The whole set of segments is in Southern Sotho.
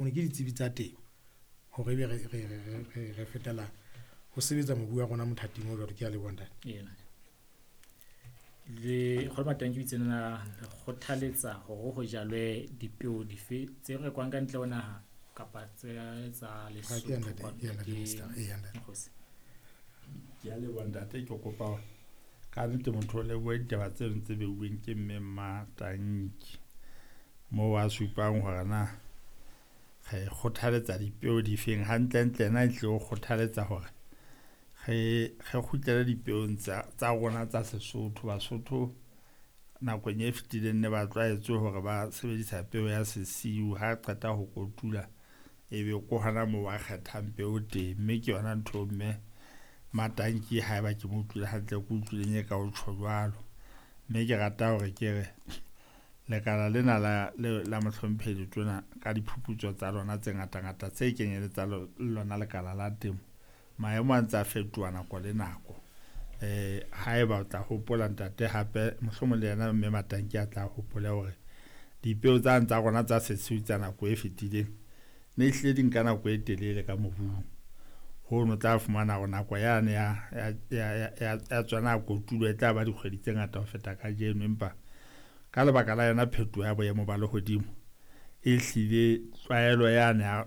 Ke ditsebi tsa temo hore ebe re fetela ho sebetsa mobu wa rona mothating o jwalo. Ke a leboha, ntate. Ena. Le kgolo Matanki o itse na le kgothaletsa hore ho jalwe dipeo dife tse rekwang ka ntle ho naha kapa tse tsa Ha ke ya Lesotho ntate, kwano? ke ya ntate Ke Mister. Ee, ya ntate. Mokgosi. Ke a leboha, ntate. Ke kopa hore ka nnete motho o lebohe ditaba tseno tse beuweng ke mme Mmatanki moo a supang hore na re kgothaletsa dipeo difeng. Hantlentle ena e tle o kgothaletsa hore re kgutlele dipeong tsa rona tsa Sesotho. Basotho nakong e fetileng ne ba tlwaetse hore ba sebedisa peo ya sesiu, ha qeta ho kotula ebe ko hona moo ba kgethang peo teng. Mme ke yona ntho mme Matanki, haeba ke mo utlwile hantle, ke utlwileng e ka o tjho jwalo. Mme ke rata hore ke re lekala lena la mohlomphehi letona ka diphuputso tsa lona tse ngatangata tse kenyeletsang le lona lekala la temo, maemo a ntse a fetoha nako le nako. Haeba o tla hopola, ntate, hape mohlomong le yena mme Matanki a tla hopole hore dipeo tsane tsa rona tsa sesiu tsa nako e fetileng ne ehlile di nka nako e telele ka mobung. Hono tla fumana hore nako yane ya tsona ya kotulo e tla ba dikgwedi tse ngata ho feta kajeno. Empa ka lebaka la yona phetoho ya boemo ba lehodimo, e hlile tlwaelo yane ya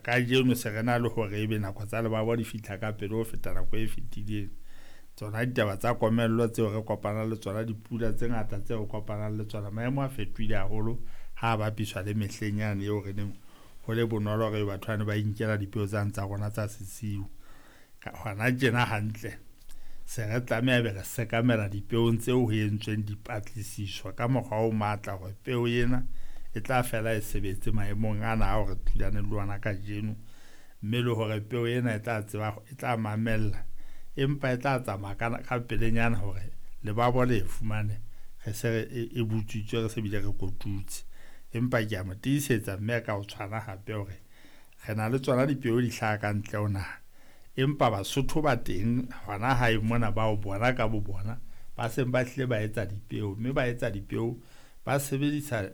kajeno se re na le hore ebe nako tsa lebabo di fihla ka pele ho feta nako e fetileng. Tsona ditaba tsa komello tseo re kopanang le tsona, dipula tse ngata tseo re kopanang le tsona, maemo a fetohile haholo ha a bapiswa le mehleng yane eo re neng ho le bonolo hore batho bane ba inkela dipeo tsane tsa rona tsa sesiu. Hona tjena hantle se re tlameha be re sekamela dipeong tseo ho entsweng dipatlisiso ka mokgwa o matla hore peo ena e tla fela e sebetse maemong ana ao re thulaneng le ona kajeno, mme le hore peo ena e tla tseba, e tla mamella, empa e tla tsamaya ka pelenyana hore lebabo le e fumane re se re e butswitswe, re se bile re kotutse. Empa ke a mo tiisetsa mme ka ho tshwana hape hore re na le tsona dipeo di hlaha ka ntle ho naha, empa Basotho ba teng hona hae mona bao bona ka bo bona ba seng ba hlile ba etsa dipeo, mme ba etsa dipeo ba sebedisa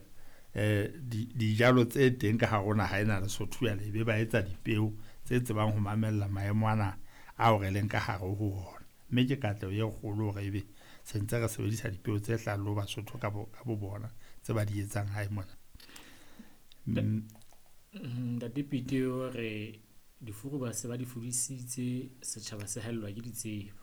dijalo tse teng ka hare ho naha ena Lesotho jwale, ebe ba etsa dipeo tse tsebang ho mamella maemo ana ao re leng ka hare ho ona. Mme ke katleho e kgolo hore ebe se ntse re sebedisa dipeo tse hlahang le ho Basotho ka bo bona tse ba di etsang hae mona. Ntate Pete o re difuru ba se ba di fudisitse, setjhaba se haellwa ke ditsebo.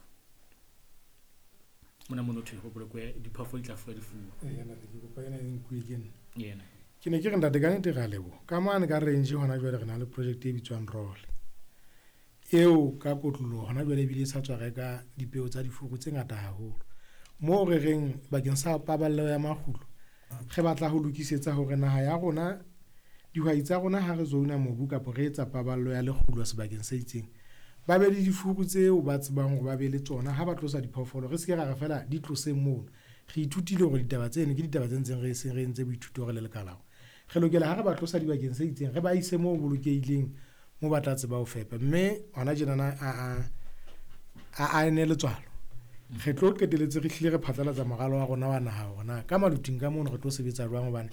Mona mono thwe ho bolokwe diphoofolo di tla fuwa difuru. Ee, ntate, ke kopa ena e nkuwe ke nna. Yena. Ke ne ke re, ntate, ka nnete re a leboha. Ka mane ka range hona jwale re na le project e bitswang Role. Eo ka kotloloho hona jwale ebile e sa tswa reka dipeo tsa difuru tse ngata haholo. Moo re reng bakeng sa paballeho ya makgulo, re batla ho lokisetsa hore naha ya rona, dihwai tsa rona ha re zona mobu kapa re etsa paballo ya lekgulo sebakeng se itseng, ba be le difuru tseo ba tsebang hore ba be le tsona ha ba tlosa diphoofolo. Re se ke ra re fela di tloseng mono. Re ithutile hore ditaba tseno ke ditaba tse ntseng re seng re entse boithuto re le lekala hore re lokela ha re ba tlosa dibakeng se itseng, re ba ise moo bolokehileng, moo ba tla tseba ho fepa. Mme hona tjenana a ene letswalo, re tlo qetelletse re hlile re phatlalatsa moralo wa rona wa naha hore na ka maluting ka mono re tlo sebetsa jwang. Hobane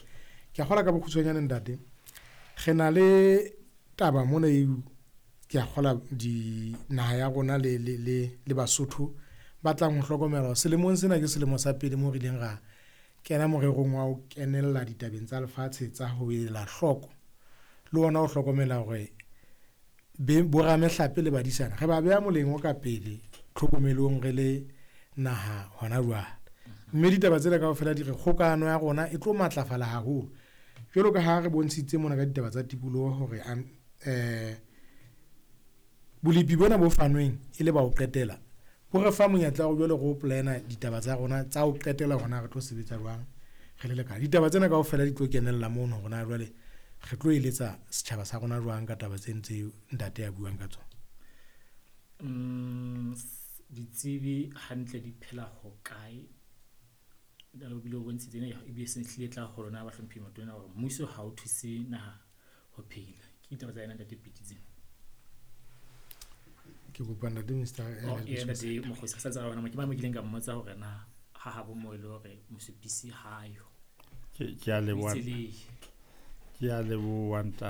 ke a kgolwa ka bokgutshwanyane, ntate, re na le taba mona eo ke a kgolwa di naha ya rona le Basotho ba tlang ho hlokomela hore selemong sena ke selemo sa pele moo re ileng ra kena morerong wa ho kenella ditabeng tsa lefatshe tsa ho ela hloko le ona ho hlokomela hore boramehlape le badisana re ba beha moleng o ka pele tlhokomelong re le naha hona jwale. Mme ditaba tsena kaofela di re kgokahano ya rona e tlo matlafala haholo jwalo ka ha re bontshitse mona ka ditaba tsa tikoloho hore bolepi bona bo fanweng e le ba ho qetela bo re fa monyetla wa jwale re o plan-a ditaba tsa rona tsa ho qetela hore na re tlo sebetsa jwang re le lekala. Ditaba tsena kaofela di tlo kenella mono hore na jwale re tlo eletsa setjhaba sa rona jwang ka taba tse ntse ntate a buang ka tsona. Ditsebi hantle di phela ho kae? O bile o bontshitse ena ebile se hlile tla ho lona bahlomphehi matona hore mmuso ha o thuse naha ho phela. Ke ditaba tsa yena ntate Pete tsena. Ke kopa ntate Mister Oh, ee, ntate Mokgosi, re sa tseba hore ke mang mo kileng ka mmotsa hore na ha habo moo e le hore mosupisi ha yo. Ke a leboha. Itse le. Ke a leboha ntate.